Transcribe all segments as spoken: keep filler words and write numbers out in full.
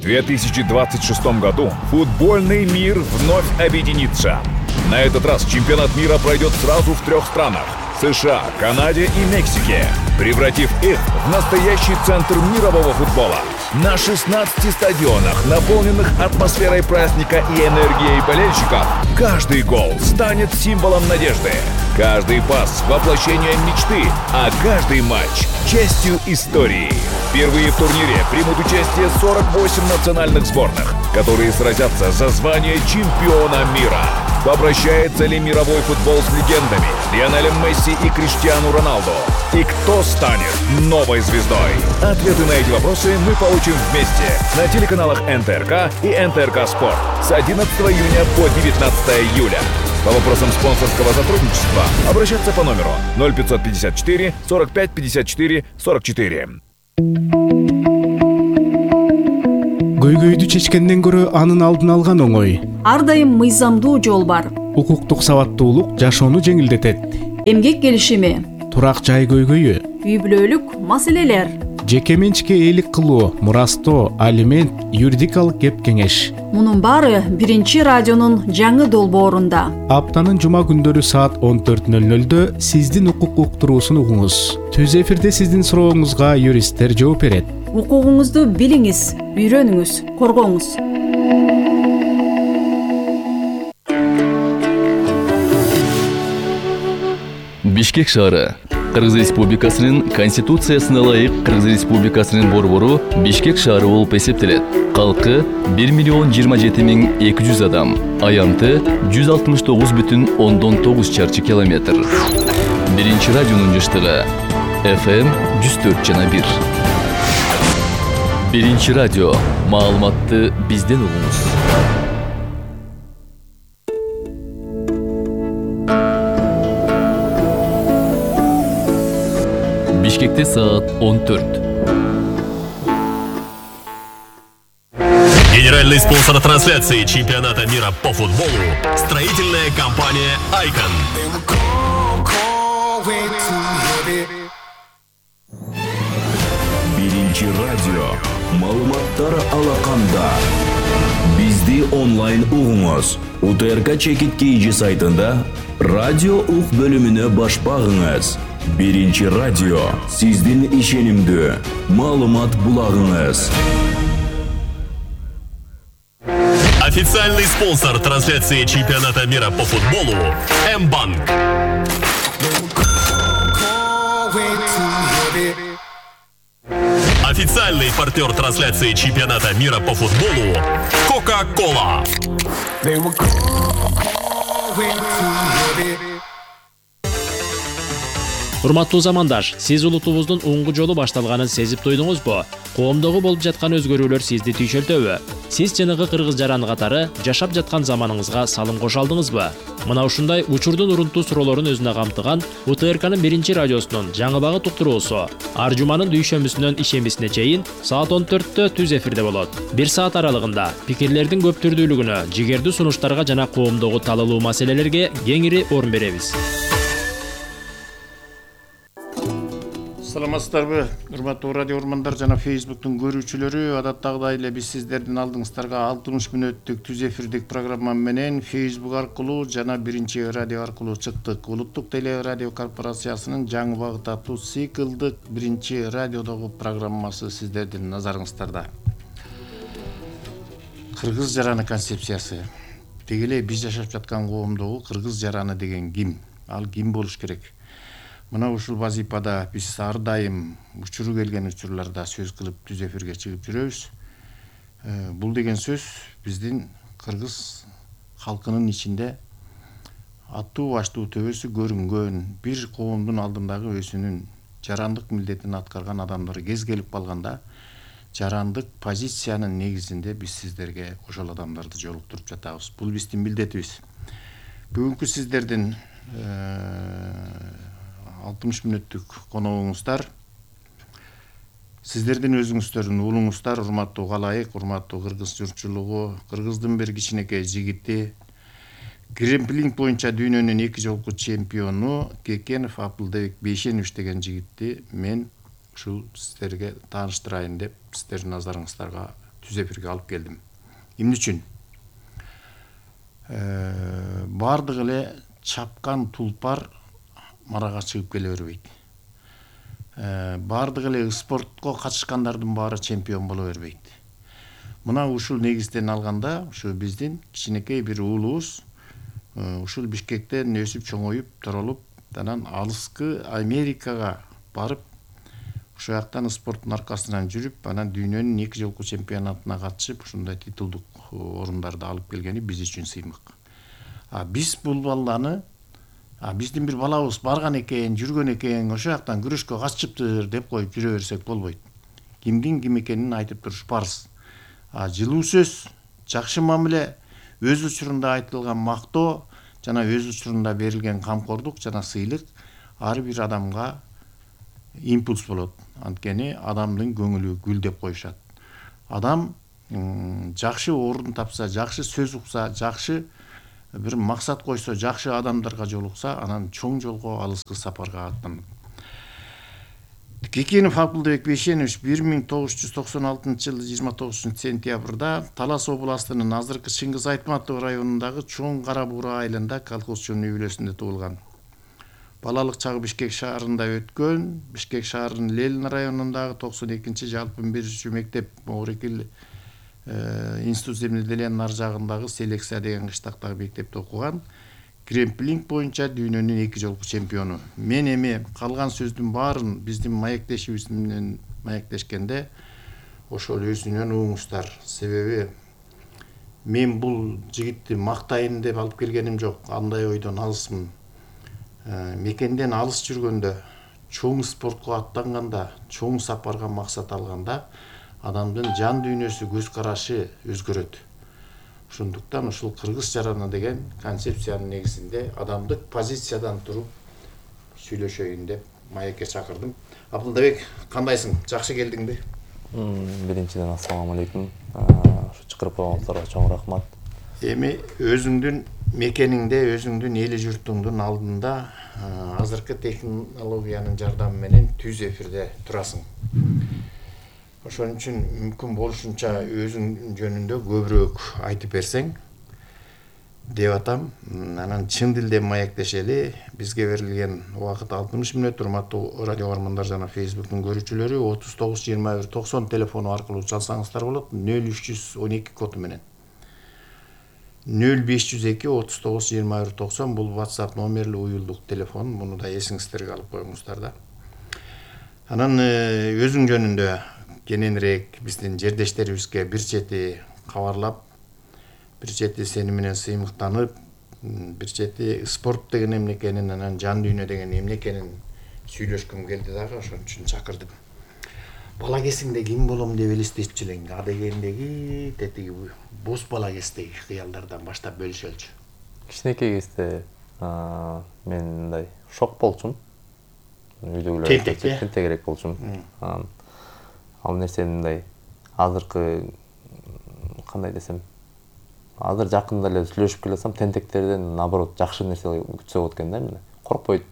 В две тысячи двадцать шестом году футбольный мир вновь объединится. На этот раз чемпионат мира пройдет сразу в трех странах – США, Канаде и Мексике, превратив их в настоящий центр мирового футбола. На шестнадцати стадионах, наполненных атмосферой праздника и энергией болельщиков, каждый гол станет символом надежды. Каждый пас – воплощением мечты, а каждый матч – частью истории. Впервые в турнире примут участие сорок восемь национальных сборных, которые сразятся за звание чемпиона мира. Попрощается ли мировой футбол с легендами Лионелем Месси и Криштиану Роналду? И кто станет новой звездой? Ответы на эти вопросы мы получим вместе на телеканалах эн тэ эр ка и эн тэ эр ка Спорт с одиннадцатого июня по девятнадцатое июля. По вопросам спонсорского сотрудничества обращаться по номеру ноль пятьсот пятьдесят четыре сорок пять пятьдесят четыре сорок четыре. Көйгөйдү чечкенден көрө анын алдын алган оңой. Ар дайым мыйзамдуу жол бар. Укуктук сабаттуулук жашоону жеңилдетет. Эмгек келишими, турак жай көйгөйү, үй бүлөлүк маселелер, жеке менчикке ээлик кылуу, мурастоо, алимент, юридикалык кеп кеңеш. Мунун баары биринчи радионун жаңы долбоорунда. Аптанын жума күндөрү саат он төрт ноль нолдо сиздин укук уктуруусун угуңуз. Түз эфирде сиздин сурооңузга юристтер жооп берет. Укугуңузду билиңиз, үйрөнүңүз, коргоңуз. Бишкек шаары. Кыргыз Республикасынын Конституциясына ылайык Кыргыз Республикасынын борбору Бишкек шаары болуп эсептелет. Калкы бир миллион жыйырма жети миң эки жүз адам. Аянты жүз алтымыш тогуз бүтүн ондон тогуз чарчы километр. Биринчи радионун жыштыгы эф эм жүз төрт жана бир. Биринчи радио. Маалыматты бизден угуңуз. Бишкекте саат он төрт. Генеральный спонсор трансляции чемпионата мира по футболу – строительная компания «Айкон». Биринчи радио. Маалыматтар алаканда. Бизди онлайн угуңуз. у тэ эр ка чекит кейжи сайтында радио ук бөлүмүнө баш багыңыз. Биринчи радио. Сиздин ишенимдүү маалымат булагыңыз. Официальный спонсор трансляции чемпионата мира по футболу – М-банк. Официальный партнер трансляции чемпионата мира по футболу – Кока-Кола. Урматтуу замандаш, сиз улутубуздун уңгу жолу башталганын сезип туйдуңузбу? Коомдогу болуп жаткан өзгөрүүлөр сизди түйшөлтөбү? Сиз жанагы кыргыз жараны катары жашап жаткан заманыңызга салым кошо алдыңызбы? Мына ушундай учурдун урунтуу суроолорун өзүнө камтыган у тэ эр канын биринчи радиосунун жаңы багыт уктуруусу ар жуманын дүйшөмбүсүнөн ишембисине чейин саат он төрттө түз эфирде болот. Бир саат аралыгында пикирлердин көп түрдүүлүгүнө, жигердүү сунуштарга жана коомдогу талалуу маселелерге кеңири орун беребиз. Саламатсыздарбы, урматтуу радио урмандар жана Фейсбуктун көрүүчүлөрү. Адаттагыдай эле биз сиздердин алдыңыздарга алтымыш мүнөттүк түз эфирдик программа менен Фейсбук аркылуу жана биринчи радио аркылуу чыктык. Улуттук теле радио корпорациясынын жаңы багыт аттуу циклдык биринчи радиодогу программасы сиздердин назарыңыздарда. Кыргыз жараны концепциясы. Деги эле биз жашап жаткан коомдогу кыргыз жараны деген ким? Ал ким болуш керек? Мына ушул вазипада биз ар дайым учуру келген учурларда сөз кылып түз эфирге чыгып жүрөбүз. Бул деген сөз биздин кыргыз халкынын ичинде аттуу баштуу төбөсү көрүнгөн бир коомдун алдындагы өзүнүн жарандык милдетин аткарган адамдар кез келип калганда жарандык позициянын негизинде биз сиздерге ошол адамдарды жолуктуруп жатабыз. Бул биздин милдетибиз. Бүгүнкү сиздердин алтымыш мүнөттүк коногуңуздар сиздердин өзүңүздөрдүн уулуңуздар, урматтуу калайык, урматтуу кыргыз журтчулугу, кыргыздын бир кичинекей жигити, гремплинг боюнча дүйнөнүн эки жолку чемпиону Кекенов Абдылдебек Бейшенович деген жигитти мен ушул сиздерге тааныштырайын деп сиздердин назарыңыздарга түз эфирге алып келдим. Эмне үчүн? Бардык эле чапкан тулпар марага чыгып келе бербейт. Бардык эле спортко катышкандардын баары чемпион боло бербейт. Мына ушул негизден алганда, ушу биздин кичинекей бир уулубуз ушул Бишкектен өсүп чоңоюп, торолуп, анан алыскы Америкага барып, ошол жактан спорттун аркасынан жүрүп, анан дүйнөнүн эки жолку чемпионатына катышып, ушундай титулдук орундарды алып келгени биз үчүн сыймык. А биз бул баланы, а биздин бир балабыз барган экен, жүргөн экен, ошол жактан күрөшкө катышыптыр деп коюп жүрө берсек болбойт. Кимдин ким экенин айтып туруш парыз. А жылуу сөз, жакшы мамиле, өз учурунда айтылган мактоо жана өз учурунда берилген камкордук жана сыйлык ар бир адамга импульс болот. Анткени адамдын көңүлү гүлдеп коюшат. Адам жакшы орун тапса, жакшы сөз укса, жакшы бир максат койсо, жакшы адамдарга жолукса, анан чоң жолго, алыскы сапарга аттанат. Кекенов Абдылбек Бейшенович бир миң тогуз жүз токсон алтынчы жылы жыйырма тогузунчу сентябрда Талас областынын азыркы Чыңгыз Айтматов районундагы Чоң Кара Буура айылында колхозчунун үй бүлөсүндө туулган. Балалык чагы Бишкек шаарында өткөн. Бишкек шаарынын Ленин районундагы токсон экинчи жалпы биринчи мектеп Орекил институт земледелия нар жагындагы Селекция деген кыштактагы мектепте окуган. Кремплинг боюнча дүйнөнүн эки жолку чемпиону. Мен эми калган сөздүн баарын биздин маектешибиз менен маектешкенде ошол өзүнөн угуңуздар. Себеби мен бул жигитти мактайын деп алып келгеним жок. Андай ойдон алысмын. Мекенден алыс жүргөндө, чоң спортко аттанганда, чоң сапарга максат алганда адамдын жан дүйнөсү, көз карашы өзгөрөт. Ошондуктан ушул кыргыз жараны деген концепциянын негизинде адамдык позициядан туруп сүйлөшөйүн деп маекке чакырдым. Абдылбек, кандайсың? Жакшы келдиңби? Биринчиден ассаламу алейкум. Ушу чакырып койгонуңуздарга чоң рахмат. Эми өзүңдүн мекениңде, өзүңдүн эли журтуңдун алдында азыркы технологиянын жардамы менен түз эфирде турасың. Ошон үчүн мүмкүн болушунча өзүң жөнүндө көбүрөөк айтып берсең деп атам. Анан чын дилде маектешели. Бизге берилген убакыт алтымыш мүнөт. Урматтуу радио көрөрмандар жана Facebook'тун көрүүчүлөрү отуз тогуз жыйырма бир токсон телефону аркылуу чалсаңыздар болот. нөл үч жүз он эки коду менен. нөл беш жүз эки отуз тогуз жыйырма бир токсон бул WhatsApp номерлүү уюлдук телефон. Муну да эсиңиздерге алып коюңуздар да. Анан өзүң жөнүндө кененирээк биздин жердештерибизге бир чети кабарлап, бир чети сени менен сыймыктанып, бир чети спорт деген эмне экенин, анан жан дүйнө деген эмне экенин сүйлөшкүм келди дагы, ошон үчүн чакырдым. Бала кезиңде ким болом деп элестетчү элең? Адегендеги, тетиги бос бала кездеги кыялдардан баштап бөлүшөлчү. Кичинекей кезде мен мындай шок болчумун. Үйдөгүлөр тентегирээк болчумун. Ал нерсени мындай азыркы кандай десем, азыр жакында эле сүйлөшүп келсем, тентектерден наоборот жакшы нерсе күтсө болот экен да, эмне. Коркпойт.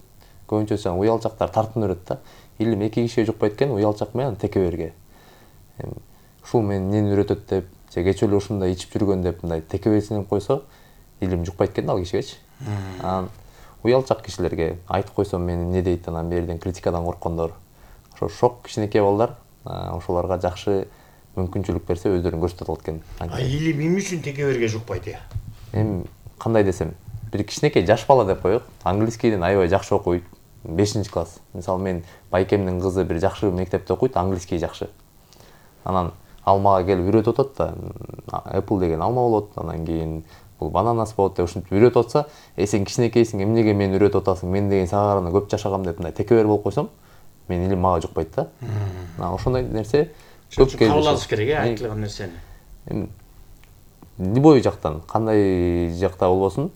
Көбүнчө жаңы уялчактар тартын өрөт да. Илим эки кишиге жукпайт экен, уялчак менен теке берге. Ушул мен эмнени үйрөтөт деп, же кечээ эле ушундай ичип жүргөн деп мындай теке берсин койсо, илим жукпайт экен ал кишигечи. Анан уялчак кишилерге айтып койсом мени эмне дейт, анан берден критикадан корккондор. Ошо шок кичинекей балдар ошолорго жакшы мүмкүнчүлүк берсе өздөрүн көрсөтөт алат экен. А илим эмне үчүн теке берге жукпайт э? Эми кандай десем, бир кичинекей жаш бала деп коелук, английскийден аябай жакшы окуйт. бешинчи класс. Мисалы мен байкемдин кызы бир жакшы мектепте окуйт, английский жакшы. Анан алмага келип үйрөтүп атат да, Apple деген алма болот, анан кийин бул бананас болот деп ушинтип үйрөтүп атса, "Э сен кичинекейсиң, эмнеге мени үйрөтүп атасың? Мен деген сага караганда көп жашагам" деп мындай теке бер болуп койсом, мен илим мага жукпайт да. Анан ошондой нерсе көп келип кабыл алыш керек э, айтылган нерсени. Эми любой жактан, кандай жакта болбосун,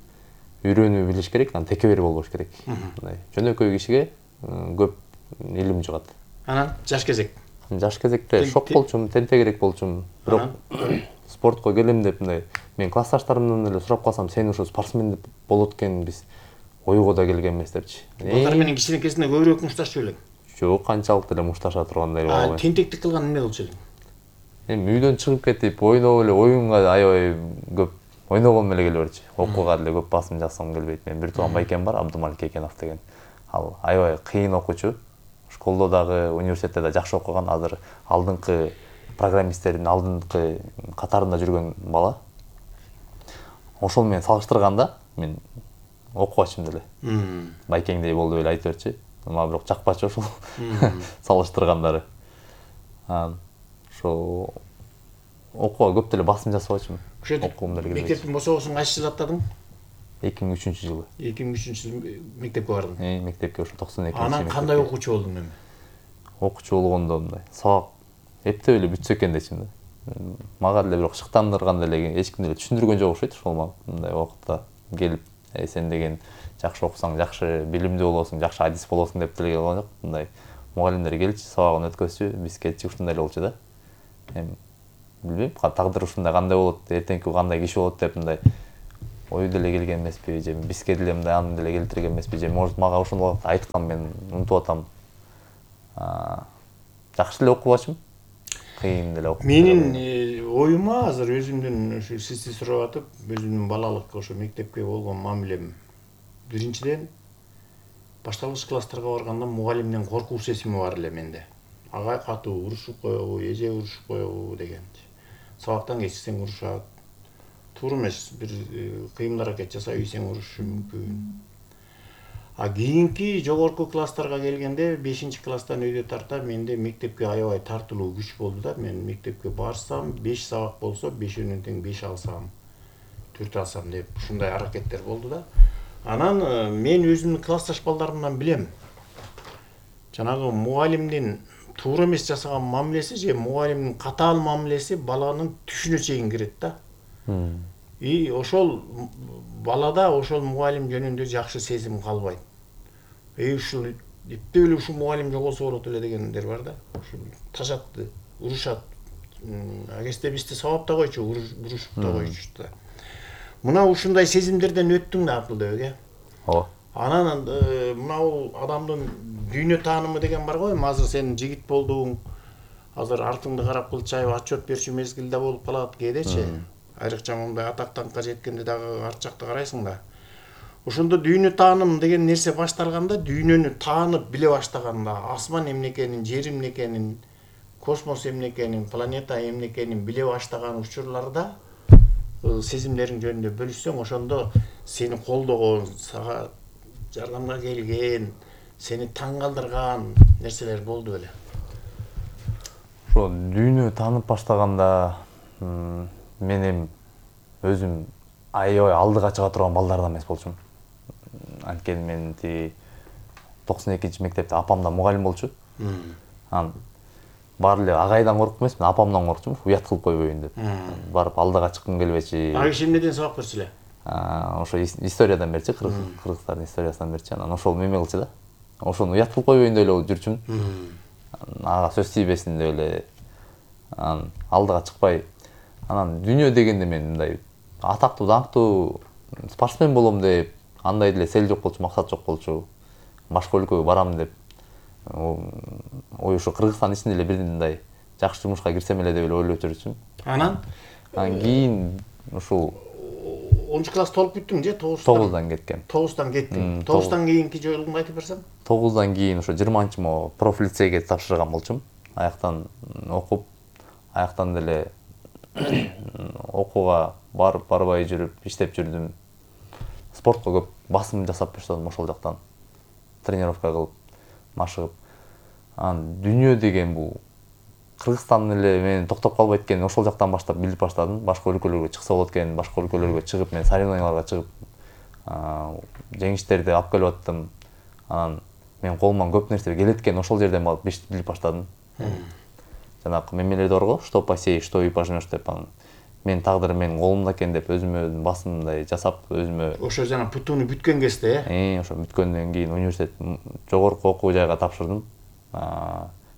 үйрөнүү билиш керек, анан теке бер болбош керек. Мындай жөнөкөй кишиге көп илим жугат. Анан жаш кезек. Жаш кезекте шок болчумун, тентегирээк болчумун. Бирок спортко келем деп мындай мен классташтарымдан эле сурап калсам, сен ушу спортсмен деп болот экенбиз. Ойго да келген эмес депчи. Балдар менен кичинекесинде көбүрөөк мушташчу элең? Жок, канчалык деле мушташа тургандай болбойт. А тентектик кылган эмне болчу элең? эми үйдөн чыгып кетип ойноп эле оюнга аябай көп ойногом эле келе берчү. Окууга деле көп басым жасагым келбейт. Мен бир тууган байкем бар, Абдумалик Экенов деген. Ал аябай кыйын окуучу. Школдо дагы, университетте да жакшы окуган, азыр алдыңкы программисттердин алдыңкы катарында жүргөн бала. Ошол менен салыштырганда мен окубачымын деле. Байкеңдей болду эле айтып берчи. Мага бирок жакпачу ошол салыштыргандары. Ошо окууга көп деле басым жасабачымын. Окуум деле. Мектептин босогосун кайсы жылы аттадың? эки миң үчүнчү жылы. эки миң үчүнчү жылы мектепке бардың. Э, мектепке ошо токсон экинчи. Анан кандай окуучу болдуң эми? Окуучу болгондо мындай сабак эптеп эле бүтсө экен дечимин да. Мага деле бирок шыктандырган деле эч ким деле түшүндүргөн жок окшойт ошол мындай убакытта келип, "Э, сен деген жакшы окусаң, жакшы билимдүү болосуң, жакшы адис болосуң" деп деле келген жок. Мындай мугалимдер келчи, сабагын өткөзчү, биз кетчи, ушундай эле болчу да. Эми билбейм, тагдыр ушундай кандай болот, эртеңки кандай киши болот деп мындай ой деле келген эмеспи, же бизге деле мындай аны деле келтирген эмеспи, же может мага ошол убакта айткан, мен унутуп атам. Жакшы эле окубачымын. Кыйын деле окуп. Менин оюма азыр өзүмдүн ушу сизди сурап атып, өзүмдүн балалык ошо мектепке болгон мамилем. Биринчиден башталгыч класстарга барганда мугалимден коркуу сезими бар эле менде. Агай катуу урушуп коебу, эже урушуп коебу деген. Сабактан кечиксең урушат. Туура эмес, бир кыймыл аракет жасап ийсең урушушу мүмкүн. А кийинки жогорку класстарга келгенде бешинчи класстан өйдө тарта менде мектепке аябай тартылуу күч болду да. Мен мектепке барсам, беш сабак болсо, бешөөнөн тең беш алсам, төрт алсам деп ушундай аракеттер болду да. Анан мен өзүмдүн классташ балдарымдан билем. Жанагы мугалимдин туура эмес жасаган мамилеси же мугалимдин катаал мамилеси баланын түшүнө чейин кирет да. И ошол балада ошол мугалим жөнүндө жакшы сезим калбайт. Эй ушул эптеп эле ушул мугалим жоголсо болот эле дегендер бар да. Ушул тажатты, урушат. Агесте бизди сабап да койчу, урушуп да койчу да. Мына ушундай сезимдерден өттүң да Абдылбек, э? Ооба. Анан мына адамдын дүйнө таанымы деген бар го, эми азыр сен жигит болдуң. Азыр артыңды карап кылчайып отчет берчү мезгилде болуп калат кээдечи. Айрыкча мындай атактанга жеткенде дагы арт жакта карайсың да. Ошондо дүйнө тааным деген нерсе башталганда, дүйнөнү таанып биле баштаганда, асман эмне экенин, жер эмне экенин, космос эмне экенин, планета эмне экенин биле баштаган учурларда сезимдериң жөнүндө бөлүшсөң, ошондо сени колдогон, сага жардамга келген, сени таң калтырган нерселер болду беле. Ошо дүйнө таанып баштаганда мен эми өзүм аябай алдыга чыга турган балдардан эмес болчумун. Анткени мен тиги токсон экинчи мектепте апам да мугалим болчу. Анан баары эле агайдан коркуп эмес, мен апамдан коркчумун, уят кылып койбойбун деп. Барып алдыга чыккым келбечи. Ага киши эмнеден сабак берчү эле? Ошо историядан берчи, кыргыздардын историясынан берчи. Анан ошол меме кылчу да. Ошону уят кылып койбойюн деп эле жүрчүмүн. Ага сөз тийбесин деп эле. Анан алдыга чыкпай, анан дүйнө дегенде мен мындай атактуу, даңктуу спортсмен болом деп, андай деле цел жок болчу, максат жок болчу. Башка өлкөгө барам деп. Ой, ошо Кыргызстан ичинде эле бир мындай жакшы жумушка кирсем эле деп эле ойлоп жүрчүмүн. Анан? Анан кийин ушул онунчу класс толуп бүттүң же? тогуздан кеткем. тогуздан кеттиң. тогуздан кийинки жолуңду айтып берсең? тогуздан кийин ошо жыйырманчы мо профилицейге тапшырган болчумун. Аяктан окуп, аяктан деле окууга барып барбай жүрүп, иштеп жүрдүм. Спортко көп басым жасап баштадым ошол жактан. Тренировка кылып, машыгып. Анан дүйнө деген бул Кыргызстан эле мени токтоп калбайт экенин ошол жактан баштап билип баштадым. Башка өлкөлөргө чыкса болот экенин, башка өлкөлөргө чыгып, мен соревнованияларга чыгып, жеңиштерди алып келип аттым. Анан мен колуман көп нерсе келет экен, ошол жерден барып билип баштадым. Жанагы мемелер бар го, что посеешь, что и пожнешь деп, анан мен тагдырым менин колумда экен деп өзүмө басымдай жасап, өзүмө ошо жана путуну бүткөн кезде, э, ошо бүткөндөн кийин университет жогорку окуу жайга тапшырдым.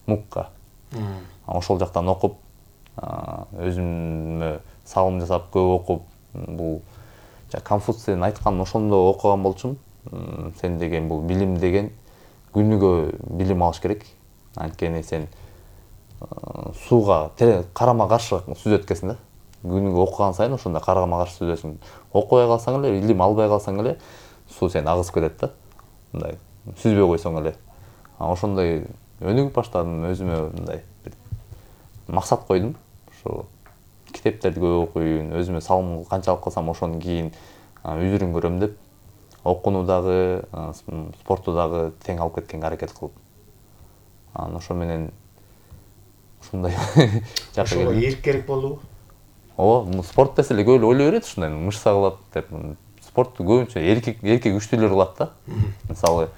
МУКка. Ошол жактан окуп, өзүмө салым жасап, көп окуп, бул Конфуцийдин айтканын ошондо окуган болчумун. Сен деген бул билим деген күнүгө билим алыш керек. Анткени сен сууга карама каршы сүзөт экенсиң да. Күнүгө окуган сайын ошондо карама каршы сүзөсүң. Окубай калсаң эле, илим албай калсаң эле суу сени агызып кетет да. Мындай сүзбөй койсоң эле. Ошондой өнүгүп баштадым, өзүмө мындай бир максат койдум. Ошо китептерди көп окуйм, өзүмө салым канчалык кылсам ошонун кийин үзүрүн көрөм деп окууну дагы, спорту дагы тең алып кеткенге аракет кылып. Анан ошо менен ушундай жакка келдим. Ошо эрк керек болдубу? Ооба, спорт десе эле көп эле ойлой берет ушундай мышца кылат деп. Спортту көбүнчө эркек эркек күчтүүлөр кылат да. Мисалы,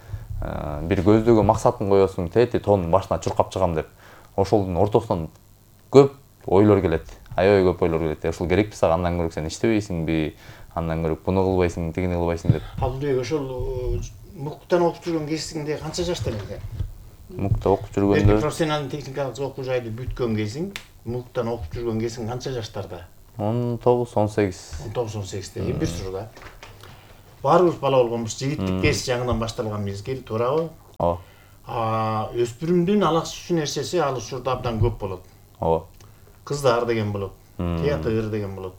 бир көздөгөн максатын коесуң, тети тоонун башына чуркап чыгам деп. Ошолдун ортосунан көп ойлор келет. Аябай көп ойлор келет. Ошол керекпи сага, андан көрө сен иштебейсиңби, андан көрө буну кылбайсың, тигини кылбайсың деп. Абдыбек, ошол МУКтан окуп жүргөн кезиңде канча жашта элең? МУКта окуп жүргөндө профессионалдык техникалык окуу жайды бүткөн кезиң, МУКтан окуп жүргөн кезиң канча жаштарда? он тогуз он сегиз. он тогуз он сегизде. Эми бир суру да. Баарыбыз бала болгонбуз, жигиттик кез жаңыдан башталган мезгил, туурабы? Ооба. А өспүрүмдүн алакчуу нерсеси ал учурда абдан көп болот. Ооба. Кыздар деген болот, театр деген болот.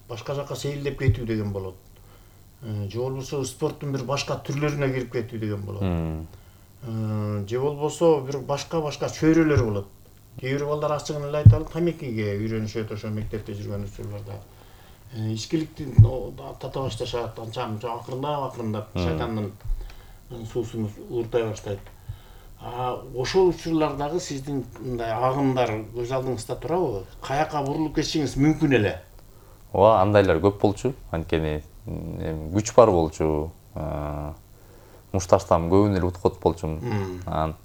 Башка жакка сейилдеп кетүү деген болот. Же болбосо спорттун бир башка түрлөрүнө кирип кетүү деген болот. Же болбосо бир башка-башка чөйрөлөр болот. Кээ бир балдар ачыгын эле айталы, тамекиге үйрөнүшөт ошо мектепте жүргөн учурларда. Ичкиликти тата башташат, анча-мынча акырындап-акырындап шайтандын суусун ууртай баштайт. А ошол учурлардагы сиздин мындай агымдар көз алдыңызда турабы? Каяка бурулуп кетишиңиз мүмкүн эле? Ооба, андайлар көп болчу. Анткени күч бар болчу. Мушташтан көбүн эле уткут болчумун. Анан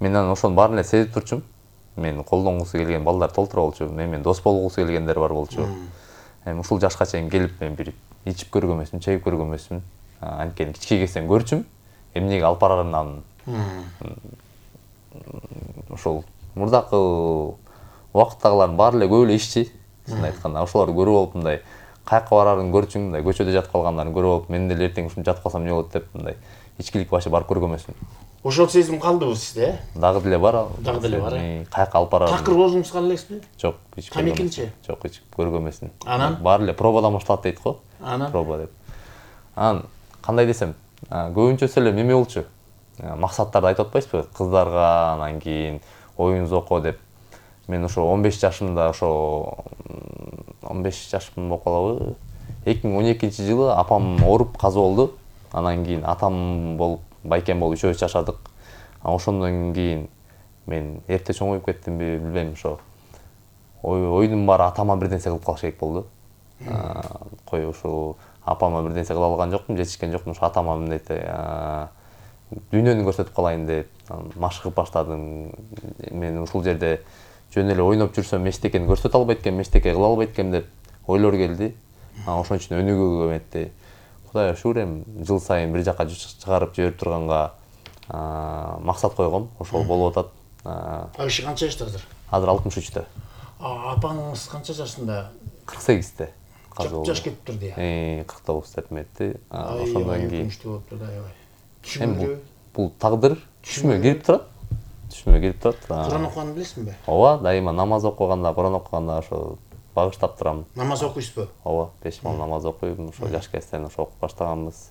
мен анан ошонун баарын эле сезип турчумун. Мен колдонгусу келген балдар толтура болчу. Менен дос болгусу келгендер бар болчу. Эми ушул жашка чейин келип мен бир ичип көргөн эмесмин, чегип көргөн эмесмин. Анткени кичке кезден көрчүм. Эмнеге алып барарынан ошол мурдакы убакыттагылардын баары эле көп эле ишчи. Чын айтканда, ошолорду көрүп алып мындай каяка барарын көрчүң, мындай көчөдө жатып калгандарын көрүп алып, мен деле эртең ушинтип жатып калсам эмне болот деп мындай ичкилик башы барып көргөн эмесмин. Ошол сезим калдыбы сизде? Дагы деле бар. Дагы деле бар. Каяка алып барарын. Такыр болуңуз кала элексизби? Жок, ичип көргөн. Тамекинчи? Жок, ичип көргөн эмесмин. Анан баары эле пробадан башталат дейт го. Анан проба деп. Анан кандай десем, көбүнчөсү эле неме болчу. Максаттарды айтып атпайсызбы? Кыздарга, анан кийин оюн зоко деп. Мен ошо он беш жашымда, ошо он беш жашым болуп калабы. эки миң он экинчи жылы апам ооруп каза болду. Анан кийин атам болуп, байкем болуп үчөөбүз жашадык. Ошондон кийин мен эрте чоңоюп кеттимби, билбейм, ошо оюдун баары атама бир нерсе кылып калыш керек болду. Кой ошо апама бир нерсе кыла алган жокмун, жетишкен жокмун. Ошо атама мындай дүйнөнү көрсөтүп калайын деп машыгып баштадым. Мен ушул жерде жөн эле ойноп жүрсөм эчтекени көрсөтө албайт экенмин, эчтеке кыла албайт экенмин деп ойлор келди. Ошон үчүн өнүгүүгө эметти. Кудайга шүгүр, эми жыл сайын бир жакка чыгарып жиберип турганга максат койгом. Ошол болуп атат. Кайсы канча жашта азыр? Азыр алтымыш үчтө. Апаңыз канча жашында? кырк сегизде. Жаш кетиптир де. Э, кырк тогуз деп эметти. Ошондон кийин түшүнбөйбү? Бул тагдыр түшүмө кирип турат. Түшүмө кирип турат. Куран окуганды билесиңби? Ооба, дайыма намаз окуганда, Куран окуганда ошо багыштап турам. Намаз окуйсузбу? Ооба, беш мал намаз окуйм. Ошо жаш кезден ошо окуп баштаганбыз.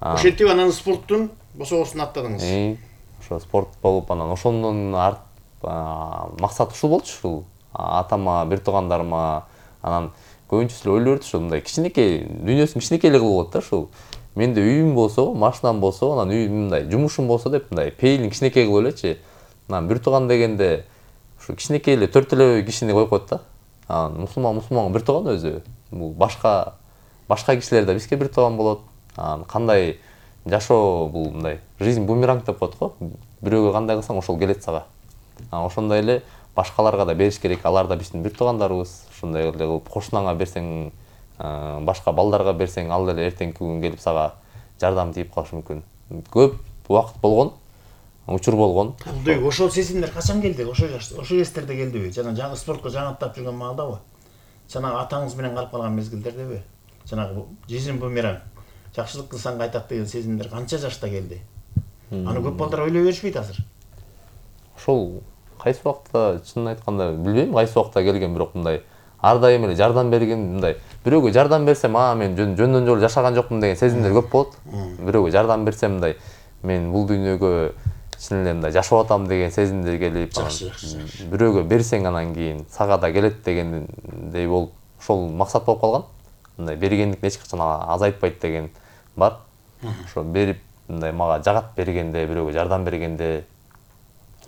Ошентип анан спорттун босогосун аттадыңыз. Э, ошо спорт болуп анан ошондон арт максат ушул болчу ушул. Атама, бир туугандарыма анан көбүнчөсү эле ойлой берет ушул мындай кичинекей, дүйнөсүн кичинекей эле кылып болот да ушул. Менде үйүм болсо, машинам болсо, анан үй мындай жумушум болсо деп мындай пейилин кичинекей кылып элечи. Анан бир тууган дегенде ушу кичинекей эле төрт эле кишини коюп коет да. Анан мусулман мусулманга бир тууган өзү. Бул башка башка кишилер да бизге бир тууган болот. Анан кандай жашоо бул мындай жизнь бумеранг деп коет го. Бирөөгө кандай кылсаң ошол келет сага. Анан ошондой эле башкаларга да бериш керек. Алар да биздин бир туугандарыбыз. Ошондой эле кылып кошунаңа берсең, башка балдарга берсең, ал деле эртеңки күн келип сага жардам тийип калышы мүмкүн. Көп убакыт болгон, учур болгон. Абдыбек, ошол сезимдер качан келди? Ошо жаш, ошо кездерде келдиби? Жана жаңы спортко жаңыртап жүргөн маалдабы? Жана атаңыз менен калып калган мезгилдердеби? Жанагы жизнь бумеранг. Жакшылык кылсаң кайтат деген сезимдер канча жашта келди? Аны көп балдар ойлой беришпейт азыр. ошол кайсы убакта чынын айтканда билбейм кайсы убакта келген, бирок мындай ар дайым эле жардам берген, мындай бирөөгө жардам берсем, а мен жөндөн жолу жашаган жокмун деген сезимдер көп болот. Бирөөгө жардам берсем, мындай мен бул дүйнөгө чын эле мындай жашап атам деген сезимдер келип, бирөөгө берсең анан кийин сага да келет дегендей болуп, ошол максат болуп калган. Мындай бергендик эч качан азайтпайт деген бар. Ошо берип мындай мага жагат бергенде, бирөөгө жардам бергенде.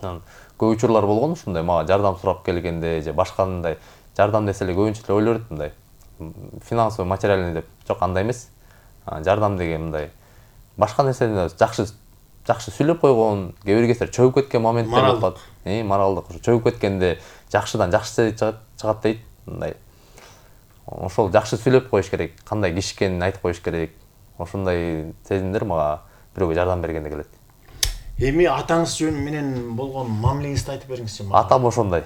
Көп учурлар болгон ушундай мага жардам сурап келгенде же башка мындай жардам десе эле көбүнчө эле ойлорут мындай финансовый, материальный деп. Жок, андай эмес. Жардам деген мындай башка нерсени жакшы жакшы сүйлөп койгон, кээ бир кездер чөгүп кеткен моменттер болот. Э, моралдык чөгүп кеткенде жакшыдан жакшы чыгат дейт. Мындай ошол жакшы сүйлөп коюш керек, кандай киши экенин айтып коюш керек. Ошондой сезимдер мага бирөөгө жардам бергенде келет. Эми атаңыз жөнү менен болгон мамилеңизди айтып бериңизчи. Атам ошондой.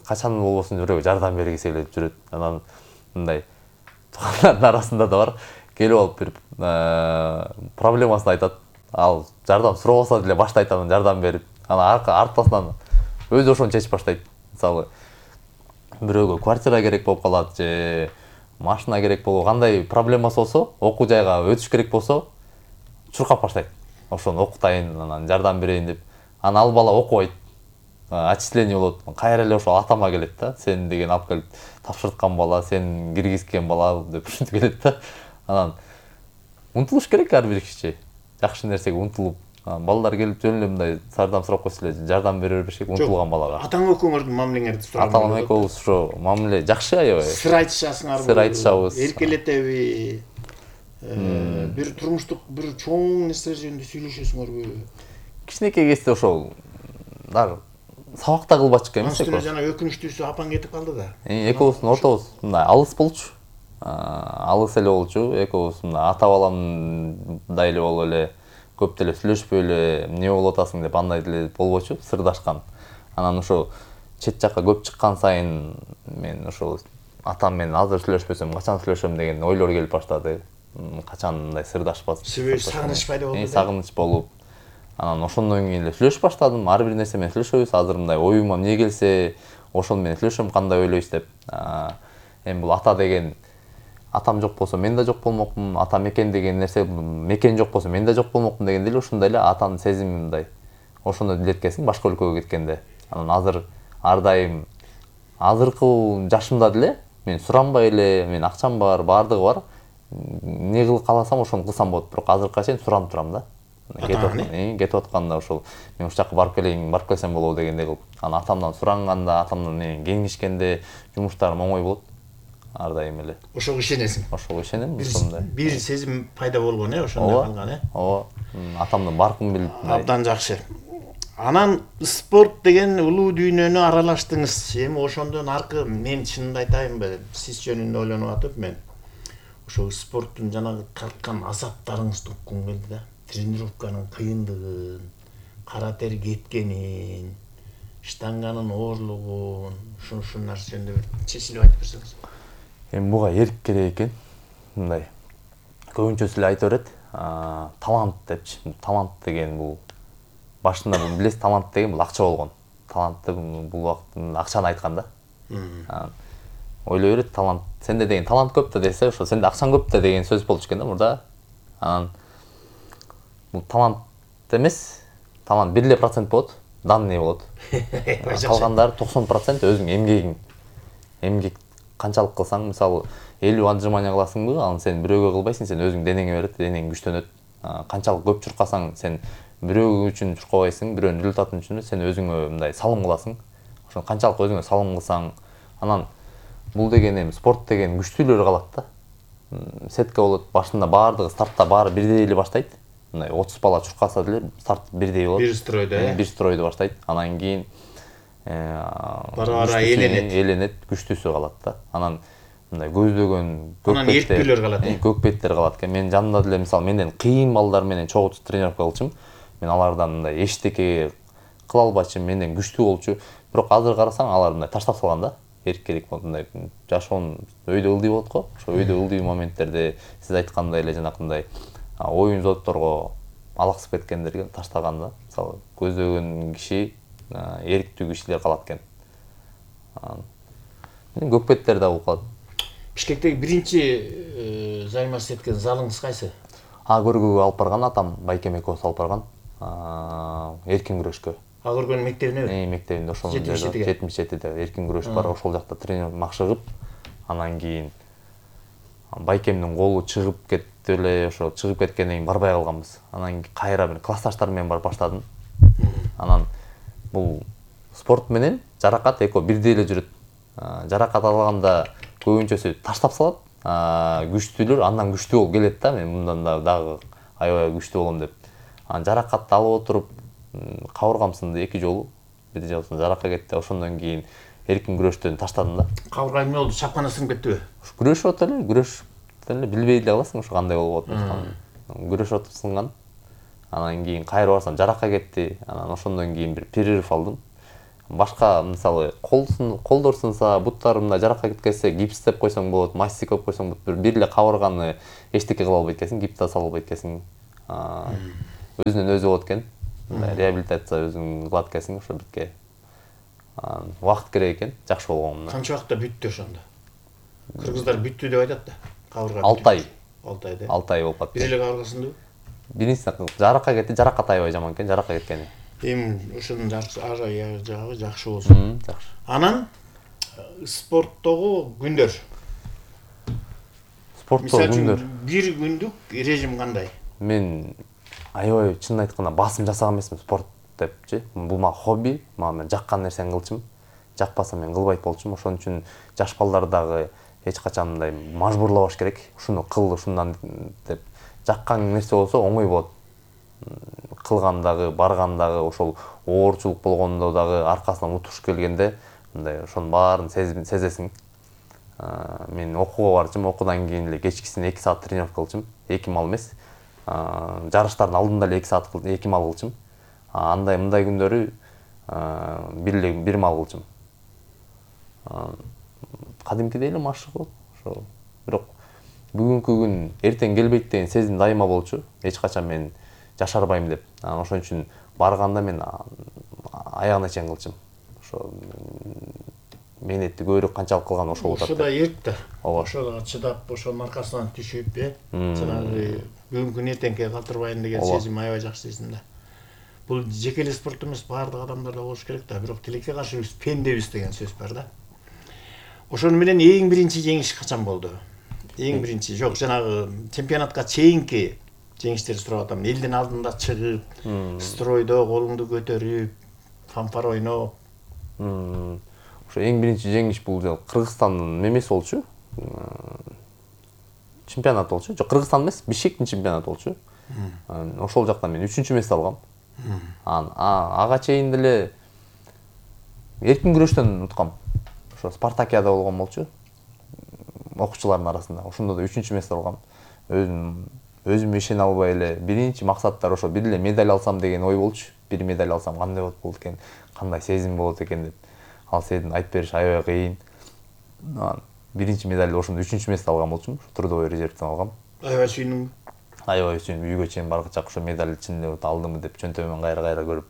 Качан болбосун бирөөгө жардам бергиси келип жүрөт. Анан мындай туугандардын арасында да бар. Келип алып бир проблемасын айтат. Ал жардам сурабаса деле башта айтам, жардам берип, анан аркасынан өзү ошону чечип баштайт. Мисалы, бирөөгө квартира керек болуп калат же машина керек болуп, кандай проблемасы болсо, окуу жайга өтүш керек болсо, чуркап баштайт. Ошону окутайын, анан жардам берейин деп. Анан ал бала окубайт. Отчисление болот. Кайра эле ошол атама келет да. Сен деген алып келип тапшырткан бала, сен киргизген бала деп ушинтип келет да. Анан умтулуш керек ар бир киши. Жакшы нерсеге умтулуп, балдар келип жөн эле мындай жардам сурап койсо эле жардам бере бербеш керек умтулган балага. Атаң экөөңөрдүн мамилеңерди сурап. Атам экөөбүз ошо мамиле жакшы аябай. Сыр айтышасыңарбы? Сыр айтышабыз. Эркелетеби? Бир турмуштук бир чоң нерселер жөнүндө сүйлөшөсүңөрбү? Кичинекей кезде ошол дар сабакта кылбачкы эмес экен. Жана өкүнүчтүүсү апаң кетип калды да. Экөөбүздүн ортобуз мындай алыс болчу. Алыс эле болчу. Экөөбүз мындай ата баламдай эле болуп эле көп деле сүйлөшпөй эле эмне болуп атасың деп андай деле болбочу, сырдашкан. Анан ошо чет жакка көп чыккан сайын мен ошол атам менен азыр сүйлөшпөсөм качан сүйлөшөм деген ойлор келип баштады. Качан мындай сырдашпас. Себеби сагыныч пайда болду. Сагыныч болуп, анан ошондон кийин эле сүйлөшүп баштадым. Ар бир нерсе менен сүйлөшөбүз. Азыр мындай оюма эмне келсе, ошону менен сүйлөшөм, кандай ойлойсуз деп. Эми бул ата деген атам жок болсо мен да жок болмокмун, ата мекен деген нерсе мекен жок болсо мен да жок болмокмун дегенде эле ушундай эле атанын сезими мындай. Ошону билеткесиң башка өлкөгө кеткенде. Анан азыр ар дайым азыркы жашымда деле мен суранбай эле, мен акчам бар, баардыгы бар. Не кылып каласам ошону кылсам болот, бирок азыркыга чейин суранып турам да. Кетип атканда ошол мен ушул жака барып келейин, барып келсем болобу дегендей кылып. Анан атамдан суранганда, атамдан менен кеңешкенде жумуштарым оңой болот. Ар дайым эле. Ошого ишенесиң. Ошого ишенем, ошондой. Бир сезим пайда болгон, э, ошондой калган, э. Ооба. Атамдын баркын билип. Абдан жакшы. Анан спорт деген улуу дүйнөнү аралаштыңыз. Эми ошондон аркы мен чынын айтайынбы, сиз жөнүндө ойлонуп атып мен ошол спорттун жанагы тарткан азаптарыңызды уккум келди да. Тренировканын кыйындыгын, кара тер кеткенин, штанганын оорлугун, ушул нерсе жөнүндө бир чечилип айтып берсеңиз. Эми буга эрк керек экен. Мындай көбүнчөсү эле айта берет, талант депчи. Талант деген бул башында бул билесиз, талант деген бул акча болгон. Талантты бул убакытта акчаны айткан да. Ойлой берет, талант сенде деген талант көп да десе, ошо сенде акчаң көп да деген сөз болчу экен да мурда. Анан бул талант эмес, талант бир эле процент болот, данный болот. Калгандары токсон процент өзүң эмгегиң. Эмгек канчалык кылсаң, мисалы элүү отжимание кыласыңбы, аны сен бирөөгө кылбайсың, сен өзүң денеңе берет, денең күчтөнөт. Канчалык көп чуркасаң, сен бирөө үчүн чуркабайсың, бирөөнүн результаты үчүн, сен өзүңө мындай салым кыласың. Ошо канчалык өзүңө салым кылсаң, анан бул деген эми спорт деген күчтүүлөр калат да. Сетка болот, башында баардыгы стартта баары бирдей эле баштайт. Мындай отуз бала чуркаса деле старт бирдей болот. Бир стройдо, э. Бир стройдо баштайт. Анан кийин бара-бара эленет, эленет, күчтүүсү калат да. Анан мындай көздөгөн көкпеттер калат, э. Көкпеттер калат экен. Мен жанымда деле мисалы менден кыйын балдар менен чогуу тренировка кылчумун. Мен алардан мындай эчтеке кыла албачумун, менден күчтүү болчу. Бирок азыр карасаң алар мындай таштап салган да. Эркелик болуп мындай жашоонун өйдө ылдый болот го. Ошо өйдө ылдый моменттерде сиз айткандай эле жанакындай оюн зодторго алаксып кеткендерге таштаган да. Мисалы көздөгөн киши Эрктүү кишилер калат экен. Көкпеттер да болуп калат. Бишкектеги биринчи займасыз эткен залыңыз кайсы? А көргөгө алып барган атам, Байкем экөөбүз алып барган. Эркин күрөшкө. А көргөн мектебинеби? Э, мектебинде ошол жетимиш жетиде эркин күрөш бар. Ошол жакта тренер макшыгып, анан кийин Байкемдин колу чыгып кетти эле, ошо чыгып кеткенден кийин барбай калганбыз. Анан кайра бир классташтар менен барып баштадым. Анан бул спорт менен жаракат экөө бирдей эле жүрөт. Жаракат алганда көбүнчөсү таштап салат. Күчтүүлөр андан күчтүү болуп келет да, мен мындан да дагы аябай күчтүү болом деп. Анан жаракатты алып отуруп кабыргам сынды эки жолу. Бир жолу жаракат кетти. Ошондон кийин эркин күрөштөн таштадым да. Кабырга эмне болду? Чапкана сынып кеттиби? Күрөшүп отур эле, күрөшүп эле билбей эле каласың ошо кандай болуп атат. Күрөшүп отуп сынган. Анан кийин кайра барсам жаракат кетти. Анан ошондон кийин бир перерыв алдым. Башка мисалы колдор сынса, буттарымда жаракат кеткенсе гипстеп койсоң болот, мастик коюп койсоң болот. Бир эле кабырганы эчтеке кыла албайт экенсиң, гипс сала албайт экенсиң. Өзүнөн өзү болот экен. Реабилитация өзүң кылат экенсиң ошо битке. Убакыт керек экен, жакшы болгон. Канча убакытта бүттү ошондо? Кыргыздар бүттү деп айтат да. Кабырга алты ай. алты ай да. алты ай болуп калды. Бир эле кабырга сынды? Биринчиси жаракат кетти, жаракат аябай жаман экен, жаракат кеткени. Эми ошонун жагы жакшы болсун. Жакшы. Анан спорттогу күндөр. Спорттогу күндөр. Бир күндүк режим кандай? Мен аябай чынын айтканда басым жасаган эмесмин спорт депчи. Бул мага хобби, мага мен жаккан нерсени кылчумун. Жакпаса мен кылбайт болчумун. Ошон үчүн жаш балдар дагы эч качан мындай мажбурлабаш керек. Ушуну кыл, ушундан деп жаккан нерсе болсо оңой болот. Кылгандагы, баргандагы, ошол оорчулук болгондо дагы аркасынан утуш келгенде мындай ошонун баарын сезесиң. Мен окууга барчумун, окуудан кийин эле кечкисин эки саат тренировка кылчумун. эки мал эмес. Жарыштардын алдында эле эки саат кылчум, эки мал кылчум. Андай мындай күндөрү бир эле бир мал кылчум. Кадимкидей эле машык болот. Ошо бирок бүгүнкү күн эртең келбейт деген сезим дайыма болчу. Эч качан мен жашарбайм деп. Ошон үчүн барганда мен аягына чейин кылчым. Ошо мээнетти көбүрөөк канчалык кылган ошол болот. Ошо да эрк да. Ошого чыдап, ошонун аркасынан түшүп, э, жанагы бүгүнкү эртеңке калтырбайын деген сезим аябай жакшы сезим да. Бул жеке эле спорт эмес, баардык адамдарда болуш керек да. Бирок тилекке каршы биз пендебиз деген сөз бар да. Ошону менен эң биринчи жеңиш качан болду? Эң биринчи, жок, жанагы чемпионатка чейинки жеңиштерди сурап атам. Элдин алдында чыгып, стройдо колуңду көтөрүп, фанфар ойноп. Ошо эң биринчи жеңиш бул Кыргызстандын мемеси болчу. Чемпионат болчу. Жок, Кыргызстан эмес, Бишкектин чемпионаты болчу. Ошол жакта мен үчүнчү месте алгам. Анан ага чейин деле эркин күрөштөн уткам. Ошо Спартакиада болгон болчу. Окуучулардын арасында. Ошондо да үчүнчү месте алгам. Өзүм өзүм ишене албай эле биринчи максаттар ошо бир эле медаль алсам деген ой болчу. Бир медаль алсам кандай болот экен, кандай сезим болот экен деп. Ал сезимди айтып бериш аябай кыйын. Анан биринчи медальды ошондо үчүнчү месте алган болчумун. Трудовой резервден алгам. Аябай сүйүндүм. Аябай сүйүнүп, үйгө чейин баргачак ошо медаль чынында алдымы деп чөнтөгүмөн кайра-кайра көрүп,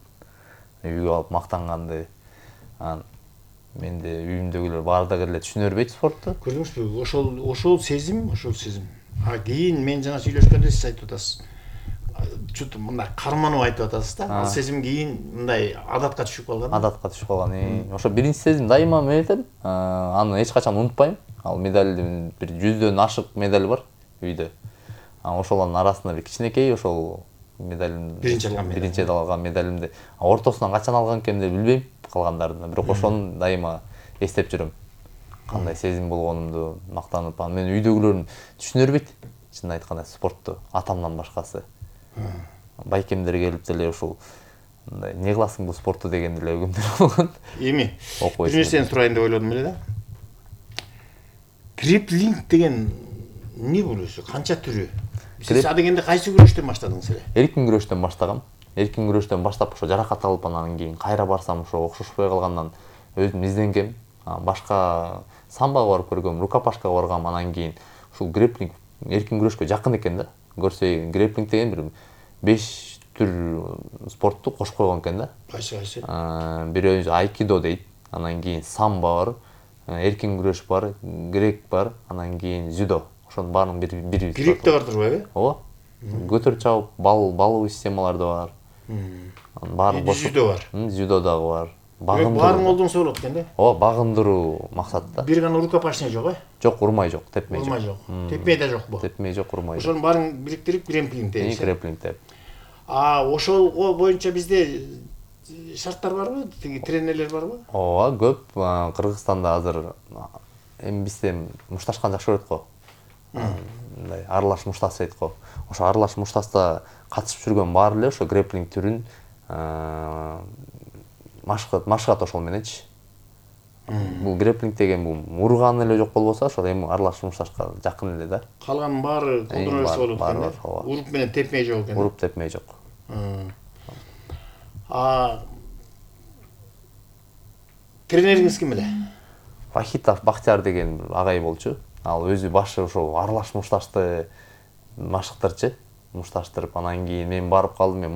үйгө алып мактанганды. Анан менде үйүмдөгүлөр баардыгы эле түшүнө бербейт спортту. Көрдүңүзбү? Ошол ошол сезим, ошол сезим. А кийин мен жана сүйлөшкөндө сиз айтып атасыз. Чут мындай карманып айтып атасыз да. Ал сезим кийин мындай адатка түшүп калган. Адатка түшүп калган. Ошо биринчи сезим дайыма менетем. Аны эч качан унутпайм. Ал медальдин бир жүздөн ашык медаль бар үйдө. Ошолордун арасында бир кичинекей ошол медалим биринчи алган медаль. Биринчи алган медалимди ортосунан качан алган экенин билбейм калгандарын. Бирок ошону дайыма эстеп жүрөм. Кандай сезим болгонумду мактанып, анан мен үйдөгүлөрүм түшүнө бербейт. Чынын айтканда спортту атамдан башкасы. Байкемдер келип деле ушул мындай не кыласың бул спортту деген деле өкүмдөр болгон. Эми бир нерсени сурайын деп ойлодум эле да. Гриплинг деген эмне бул өзү? Канча түрү? Сиз адегенде кайсы күрөштөн баштадыңыз эле? Эркин күрөштөн баштагам. Эркин күрөштөн баштап ошо жаракат алып анан кийин кайра барсам ошо окшошпой калгандан өзүм изденгем. Башка самбага барып көргөм, рукопашкага баргам, анан кийин ушул гриплинг эркин күрөшкө жакын экен да. Көрсөй гриплинг деген бир беш түр спортту кошуп койгон экен да. Кайсы кайсы? Бирөө айкидо дейт, анан кийин самбо бар, эркин күрөш бар, грек бар, анан кийин дзюдо. Ошонун баарынын бир бир Грек да бардыр байбы? Ооба. Көтөрүп чабып, бал балуу системалар да бар. Анын баарын кошуп. Дзюдо бар. Дзюдо дагы бар. Баарын колдонсо болот экен да. Ооба, багындыруу максатта. Бир гана рукопашный жок, э? Жок, урмай жок, тепмей жок. Урмай жок. Тепмей да жокпу? Тепмей жок, урмай жок. Ошонун баарын бириктирип грепплинг дейбиз. Грепплинг деп. А ошого боюнча бизде шарттар барбы? Тиги тренерлер барбы? Ооба, көп. Кыргызстанда азыр эми бизде мушташкан жакшы көрөт го. Мындай аралаш муштас дейт го. Ошо аралаш муштаста катышып жүргөн баары эле ошо грепплинг түрүн машыгат машыгат ошол мененчи. Бул грепплинг деген бул урган эле жок болбосо, ошол эми аралаш мушташка жакын эле да. Калганын баары колдоно берсе болот экен да. Уруп менен тепмей жок экен. Уруп тепмей жок. А тренериңиз ким эле? Вахитов Бахтияр деген агай болчу. Ал өзү башы ошо аралаш мушташты машыктырчу. Мушташтырып, анан кийин мен барып калдым, мен